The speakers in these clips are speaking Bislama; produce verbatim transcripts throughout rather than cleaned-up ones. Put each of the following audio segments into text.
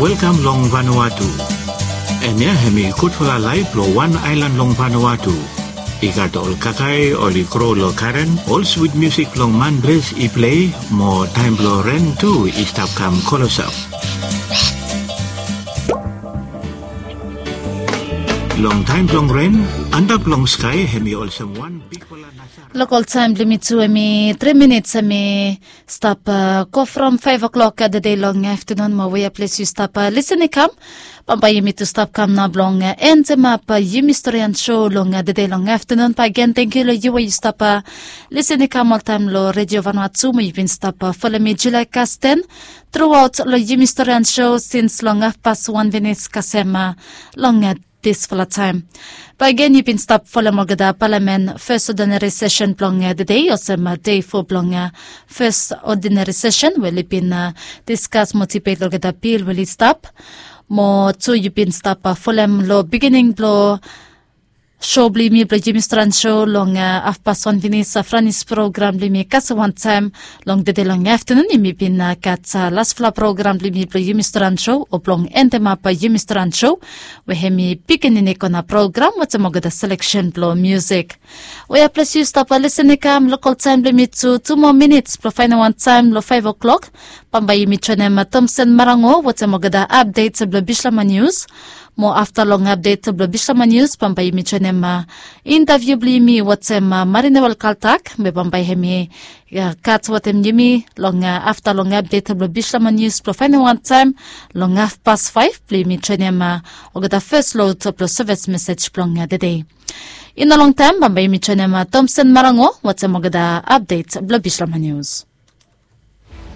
Welkam long Vanuatu. Hemia hemi gudfala laef blong wan aelan long Vanuatu. I gat ol kakae oli gro long garen, ol swit musik blong manples i plei, mo taem blong ren tu i stap kam klosap. Long taem blong ren, antap long skae hemi olsem wan bigfala nasara. Lokol taem blong yumi tu hemi tri minits hemi stap go from faef o'klok tede long aftanun mo wea ples yu stap lisin i kam. Bambae yumi tu stap kam nao blong endemap yumi storian sou long tede long aftanun. Bakegen tangkiu long yu we yu stap lisin i kam oltaem long Redio Vanuatu mo yu bin stap folem mi July Kasten truaot long yumi storian sou sins long hafpas wan finis kasem long disfala taem. Bakegen yu bin stap folem olgeta palamen fes odinari sesen blong tede olsem dei fo blong fes odinari sesen we oli bin diskas mo dibet olgeta bil we oli stap. Mo tu yu bin stap folem long bigining blong sou blong yumi blong yumi storian sou long hafpas wan finis franis program blong yumi kasem wantaem. Long tede long aftanun yumi bin gat lasfala program blong yumi blong yumi storian sou o blong endemap yumi storian sou we hemi pikinini kona program wetem olgeta seleksen blong musik. Wea ples yu stap lisin i kam, lokol taem blong yumi tu tu moa minits blong faenem wantaem long faef o'klok. Bambae yumi joenem Tomsen Marango wetem olgeta apdet blong Bislama Nius. Mo afta long apdet blong Bislama Nius bambae yumi joenem intaviu blong yumi wetem Marinewel Kaltak be bambae hemi gat wetem yumi long afta long apdet blong Bislama Nius blong faenem wantaem long hafpas faef blong yumi joenem olgeta fes lod blong seves mesej blong tede. I no longtaem bambae yumi joenem Tomsen Marango wetem olgeta apdet blong Bislama Nius.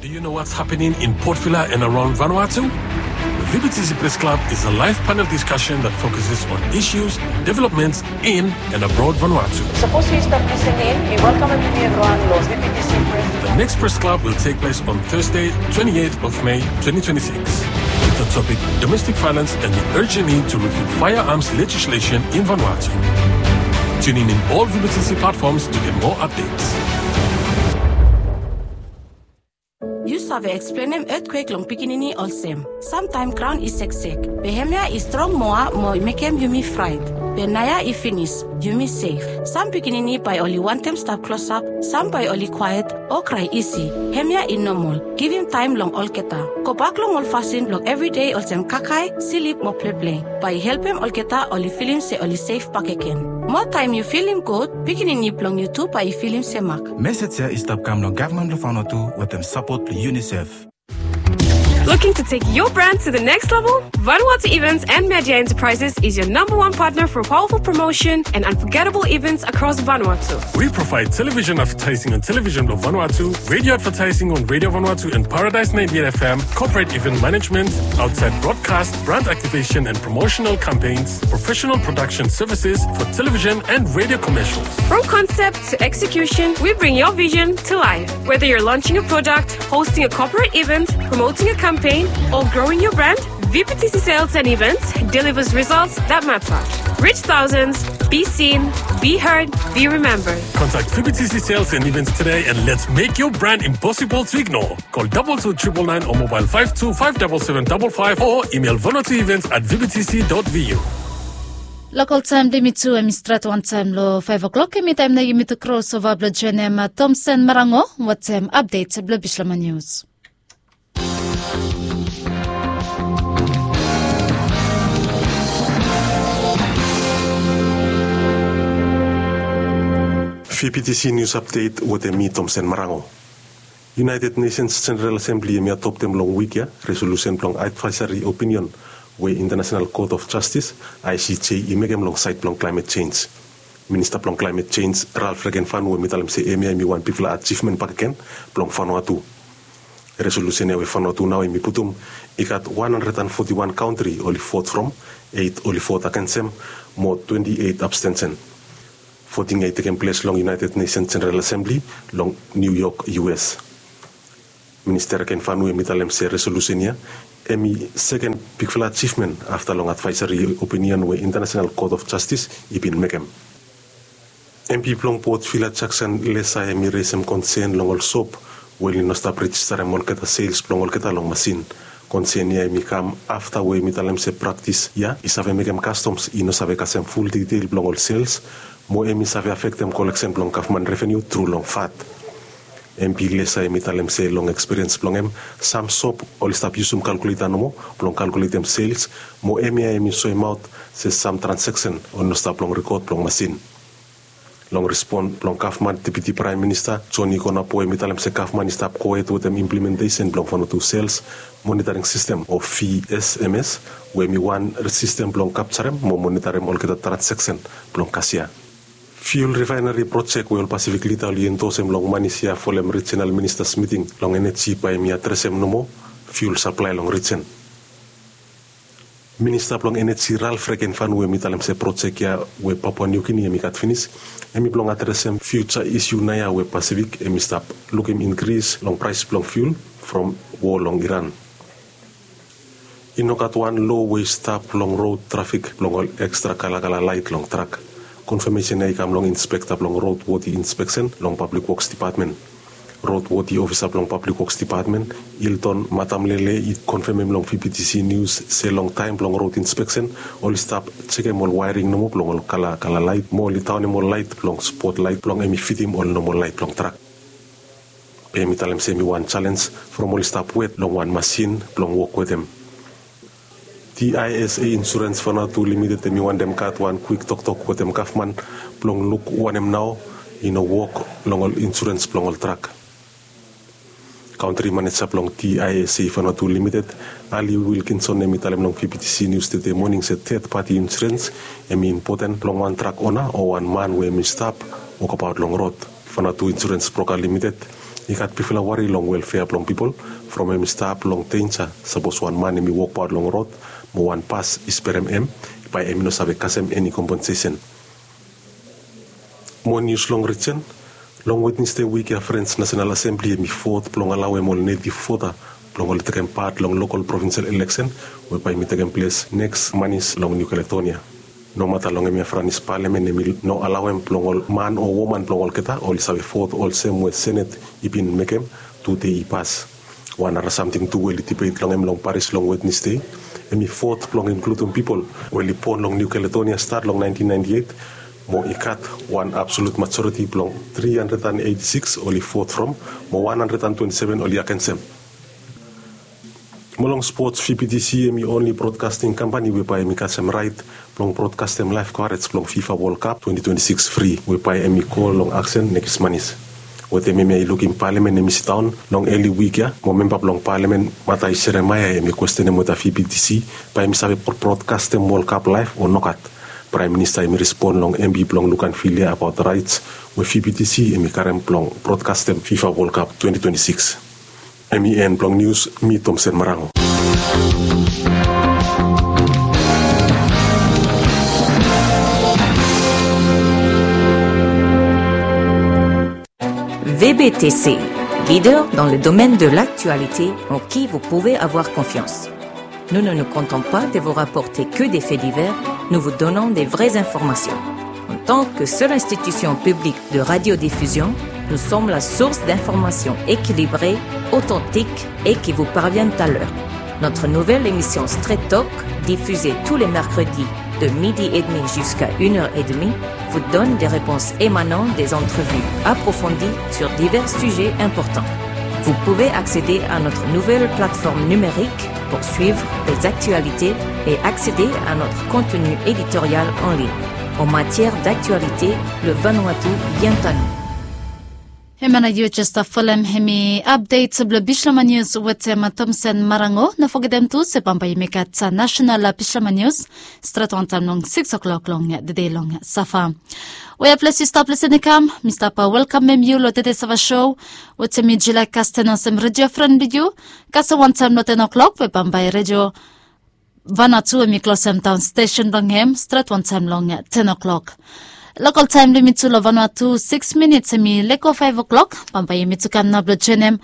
Do you know what's happening in Port Vila and around Vanuatu? The V B T C Press Club is a live panel discussion that focuses on issues, developments in and abroad Vanuatu. Sapos yu stap lisin in, mi welkamem yumi evriwan long V B T C Press. The next Press Club will take place on Thursday, twenty-eighth of May, twenty twenty-six, with the topic Domestic Violence and the Urgent Need to Review Firearms Legislation in Vanuatu. Tune in in all V B T C platforms to get more updates. Yu save eksplenem etkwek long pikinini olsem, samtaem graon i seksek, be hemia i strong moa mo i mekem yumi fraet, be naoia i finis, yumi sef. Sam pikinini bae oli wantem stap klosap, sam bae oli kwaet o krae isi. Hemia i nomol. Givim taem long olgeta. Gobak long ol fasin blong evridei olsem kakae, slip mo pleple. Bae i helpem olgeta oli filim se oli sef bakegen. Moa taem yu filim gud, pikinini blong yu tu bae i filim semak. Mesej ia i stap kam long gavman blong Vanuatu wetem sapot blong UNICEF. Looking to take your brand to the next level? Vanuatu Events and Media Enterprises is your number one partner for powerful promotion and unforgettable events across Vanuatu. We provide television advertising on Television blong Vanuatu, radio advertising on Radio Vanuatu and Paradise ninety-eight F M, corporate event management, outside broadcast, brand activation and promotional campaigns, professional production services for television and radio commercials. From concept to execution, we bring your vision to life. Whether you're launching a product, hosting a corporate event, promoting a campaign, or growing your brand, V B T C Sales and Events delivers results that matter. Reach thousands, be seen, be heard, be remembered. Contact V B T C Sales and Events today and let's make your brand impossible to ignore. Call double two triple nine or mobile five two five double seven double five or email vanuatuevents at V B T C dot V U. Lokol taem blong yumi tu hemi stret wantaem long faef o'klok, hemi taem nao yumi tu krosova blong joenem Tomsen Marango wetem apdet blong Bislama Nius. V B T C News Update wetem mi Tomsen Marango. United Nations General Assembly hemi adoptem long wik ia resolusen blong advaesari opinion we International Court of Justice, I C J, i mekem long saed blong climate change. Minista blong climate change, Ralph Regenvanu, hemi talem se hemia hemi wan bigfala ajivmen bakegen blong Vanuatu. Resolusen ia we Vanuatu nao hemi putum i gat wan handred an foti wan kantri oli vot from, eit oli vot agensem, mo twenti eit abstensen. Voting ia i tekem ples long United Nations General Assembly long New York, U S. Minista Regenvanu hemi talem se resolusen ia hemi seken bigfala ajivmen afta long advaesari opinion we International Court of Justice i bin mekem. M P blong Port Vila, Jackson Lesa, hemi resem konsen long ol sop we oli no stap rejistarem olgeta sels blong olgeta long masin. Konsen ya em i kam afta we em i talem se praktis ya i save mekem kastoms i no save kasem ful ditel blong ol sels, mo em i save afektem koleksen blong gavman reveniu tru long vat. Em bilesa em i talem se long ekspiriens blong em, sam sop oli stap yusum kalkuleta nomo blong kalkuletem sels, mo em ya em i soemaot se sam transeksen oli no stap long rekod blong masin. Long respon blong gavman, deputi praem minista Joni Konapo em i talem se gavman i stap gohed wetem implementesen blong Vanuatu sels monitaring sistem o V S M S, we em i wan sistem blong kapjarem mo monitarim olgeta transeksen blong kasia. Fiul rifaeneri projek we ol Pasifik lida oli endosem long manis ya folem rijinal ministas miting long eneji bae em i adresem nomo fiul saplae long rijin. Minista blong eneji Ralph Regenvanu em i talem se projek ya we Papua Niu Gini em i gat finis, em i blong adresem fiuja isiu naoia we Pasifik em i stap lukim inkris long praes blong fiul from wo long Iran. I no gat wan loa we i stap long rod trafik blong ol ekstra kalakala laet long trak. Konfamesen ya i kam long inspekta blong rod wodi inspeksen long Pablik Woks Depatmen. Rod wodi ofisa blong Pablik Woks Depatmen, Hilton Matamlele, i konfamem long V B T C Nius se long taem blong rod inspeksen oli stap jekem ol waering nomo blong ol kalakala laet mo oli daonem ol laet blong spot laet blong em i fidim ol nomol laet blong trak. Be em i talem se em i wan jalenj from oli stap wet long wan masin blong wok wetem. T I S A Insurens Vanuatu Limited em i wantem gat wan kwik toktok wetem gavman blong luk wanem nao i no wok long ol insurens blong ol trak. Kantri maneja blong T I S A Vanuatu Limited, Ali Wilkinson, em i talem long V B T C Nius tede moning se ted pati insurens em i impoten blong wan trak ona o wan man we em i stap wokabaot long rod. Vanuatu Insurens Broka Limited i gat bigfala wari long welfea blong pipol from em i stap long denja sapos wan man em i wokbaot long rod mo wan bas i sperem em, bae em i no save kasem eni kompensesen. Mo nius long rijin. Long Wednesde wik ya Frens Nasenal Asembli em i vot blong alaoem ol netiv vota blong oli tekem pat long lokol provinsel eleksen we bae em i tekem ples neks manis long Niu Kaledonia. Nomata long hemia Franis palamen em i no alaoem blong ol man o woman blong olgeta oli save vot olsem we Senet i bin mekem tu dei i pas. Wan nara samting tu we oli dibet long hem long Paris long Wednesde, em i vot blong inkludim pipol we oli bon long Niu Kaledonia stat long naentin naenti eit, mo i gat wan absolut majoriti blong tri handred an eiti sikis oli vot from, mo wan handred an twenti seven oli agensem. Mo long spots, V B T C em i onli brodkasting kampani we bae em i kasem raet blong brodkastem laef kovaraj blong FIFA Wol Kap twenti twenti sikis fri we bae em i go long aksen nekis manis. Wetem hemia i lukim palamen em i sidaon long eli wik ya, mo memba blong palamen Matais Jeremaia em i kwestenem weta V B T C bae em i save brodkastem Wol Kap laef o nogat. Praem Minista em i respon long M P blong Luganville ya abaot raets we V B T C em i karem blong brodkastem FIFA Wol Kap twenti twenti sikis. Em i en blong nius, mi Tomsen Marango. V B T C, leader dans le domaine de l'actualité en qui vous pouvez avoir confiance. Nous ne nous contentons pas de vous rapporter que des faits divers, nous vous donnons des vraies informations. En tant que seule institution publique de radiodiffusion, nous sommes la source d'informations équilibrées, authentiques et qui vous parviennent à l'heure. Notre nouvelle émission Straight Talk, diffusée tous les mercredis de midi et demi jusqu'à une heure et demie, vous donne des réponses émanant des entrevues approfondies sur divers sujets importants. Vous pouvez accéder à notre nouvelle plateforme numérique pour suivre les actualités et accéder à notre contenu éditorial en ligne. En matière d'actualité, le Vanuatu vient à nous. Hemia nao yu jes stap folem, hemi apdet blong Bislama Nius wetem Tomsen Marango. No fogetem tu se bambae yumi gat nasenal Bislama Nius stret wantaem long sikis oklok long tede long safa. Wea ples yu stap lisin i kam, mi stap welkamem yu long tede safa sou wetem mi Julae Kasten olsem redio fren blong yu. Kasem wantaem long ten oklok we bambae redio Vanuatu hemi klosem daon stesen blong hem stret wantaem long ten oklok. Lokol taem blong yumi tu long Vanuatu sikis minits hemi lego faef oklok. Bambae yumi tu kam nao blong joenem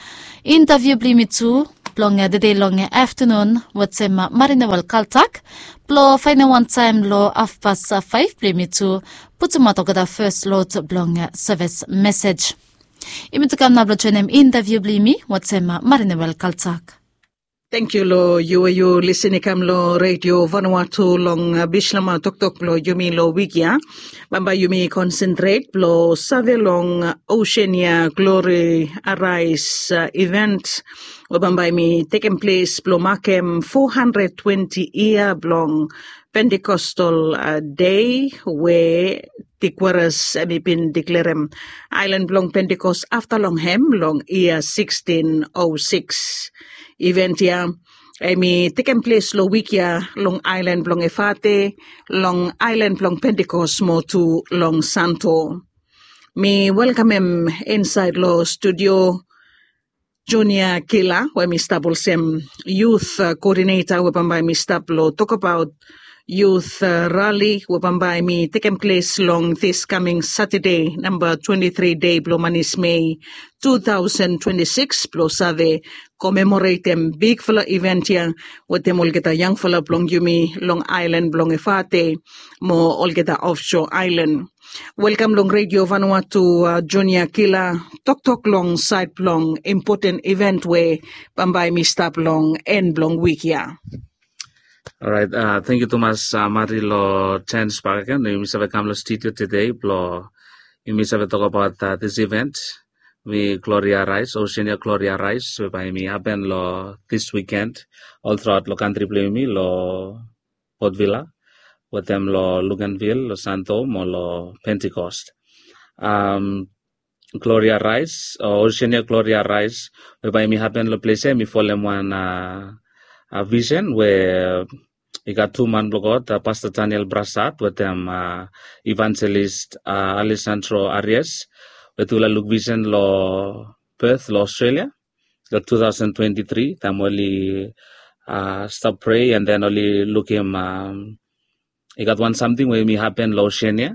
intaviu blong yumi tu blong tede long aftanun wetem Marinewel Kaltak blong faenem wantaem long hafpas faef blong yumi tu putumaot olgeta fes lod blong seves mesej. Yumi tu kam nao blong joenem intaviu blong yumi wetem Marinewel Kaltak. Tangkiu long yu we yu lisin i kam long Redio Vanuatu long, uh, Bislama toktok blong yumi long wik ya. Bambae yumi konsentret blong save long, uh, Oceania Glory Arise, uh, event we bambae mi tekem ples blong makem four hundred twenty yia blong Pentecostal, uh, Day we Tigueras hemi bin deklerem aelan blong Pentecost afta long hem long yia sixteen oh six. Event ya hemi tekem ples long wik ya long aelan blong Efate, long aelan blong Pentecost mo tu long Santo. Mi welkamem insaed long studio Junior Kila we mi stap olsem youth, uh, coordinator we bambae mi stap long tokbaot youth, uh, rali we bambae mi tekem ples long this coming Saturday, namba twenty three dei blong manis Mei two thousand twenty six, blong save komemoretem bigfala event ya wetem olgeta yangfala blong yumi long aelan blong Efate mo olgeta offshore aelan. Welkam long Redio Vanuatu, uh, Junior Kila, toktok long saed blong impoten event we bambae mi stap long en blong wik ya. Orait, uh, tangkiu tumas, uh, Mari, long janis bakegen yumi save kam long studio tede blong yumi save tokbaot, uh, this event we Gloria Rise, Oceania Gloria Rise, we bae hemi hapen long this weekend ol truaot long kantri blong yumi, long Port Vila, wetem long Luganville, long Santo mo long Pentecost. Um, Gloria Rise, o Oceania Gloria Rise, we bae hemi hapen long ples ya, hemi folem wan, uh, uh, visen we i gat tu man blong God, uh, Pasta Daniel Brassard wetem, uh, Evangelist, uh, Alessandro Arias, we tufala luk visen long Perth long Australia long two thousand twenty three, taem oli, uh, stap prea and then oli lukim, um, i gat wan samting we hemi hapen long Oceania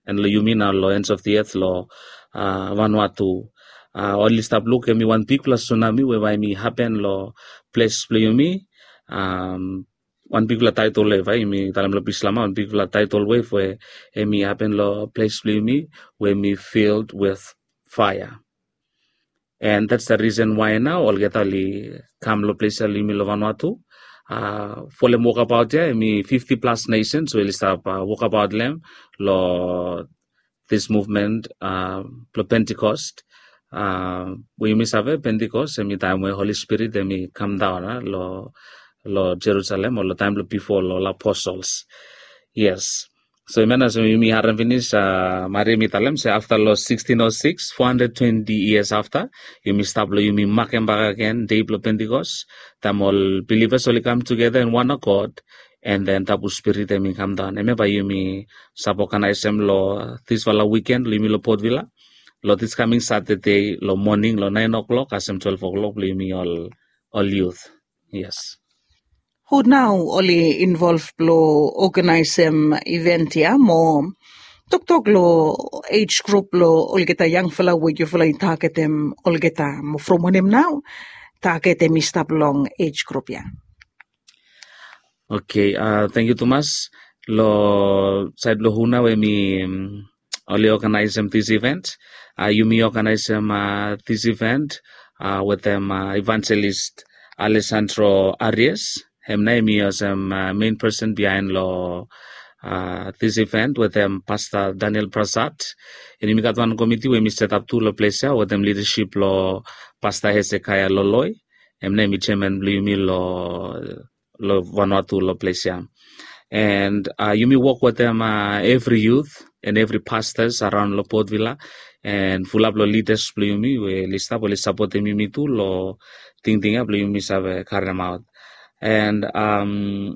and long yumi nao long ends of the earth long, uh, Vanuatu. Uh, oli stap luk hemi wan bigfala tsunami we bae hemi hapen long ples blong yumi. Um, wan bigfala taetol we bae yumi talem long Bislama, wan bigfala tidal wave we hemi hapen long ples blong yumi we hemi filled with fire. And that's the reason why nao olgeta oli kam long ples ya long yumi long Vanuatu. Uh, folem wokabaot ya, hemi fifty plus nations we oli stap, uh, wokabaot long hem long this movement, uh, blong Pentecost. Uh, we yumi save Pentecost hemi taem we Holy Spirit hemi kamdaon, uh, long, long Jerusalem o long taem blong bifo long ol apostles. Yes. So hemia nao, so yumi harem finis, uh, Mari hemi talem se afta long sixteen oh six, four hundred twenty years afta, yumi stap long yumi makem bakegen dei blong Pentecost, taem ol bilivas oli kam tugeta in one accord, and then Tabu Spirit hemi kamdaon. Hemia bae yumi save oganaesem long disfala wiken long yumi long Port Vila, long this coming Saturday long moning long naen o'clock kasem twelve o'clock blong yumi ol, ol youth. Yes. Hu nao oli involv blong oganaesem event ya mo toktok long age group blong olgeta yangfala we yufala i tagetem olgeta mo from wanem nao taget hemi stap long age group ya? Okay, uh, tangkiu tumas. Long saed blong hu nao we hemi, um, oli oganaesem this event. Uh, yumi oganaesem, uh, this event, uh, wetem, uh, Evangelist Alessandro Arias. Hem nao hemi olsem, uh, main person bihaen long, uh, this event wetem Pasta Daniel Brassard. And yumi gat wan komiti we hemi setap tu long ples ya wetem lidasip blong Pasta Hezekiah Loloi. Hem nao hemi jeaman blong yumi long, long Vanuatu long ples ya. And, uh, yumi wok wetem, uh, evri youth and evri pastors araon long Port Vila and fulap long lidas blong yumi we oli stap, oli sapotem yumi tu long tingting ya blong yumi save karemaot. And, um,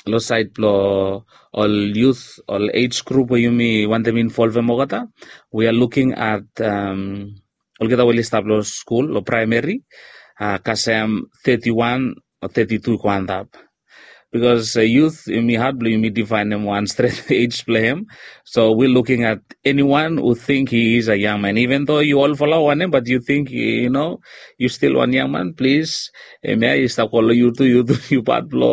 long saed blong ol youth, ol age group we yumi wantem involvem olgeta, we are looking at, um, olgeta we oli stap long skul, long praemeri, uh, kasem thirty-one o thirty-two i go antap. Because, uh, youth, yumi had blong yumi difaenem wan stret age blong hem. So we looking at anyone who think he is a young man, even though yu olfala wanem, but yu ting, yu no, yu stil wan yangman, plis, hemia i stap go long yu tu, yu tu, yu pat blong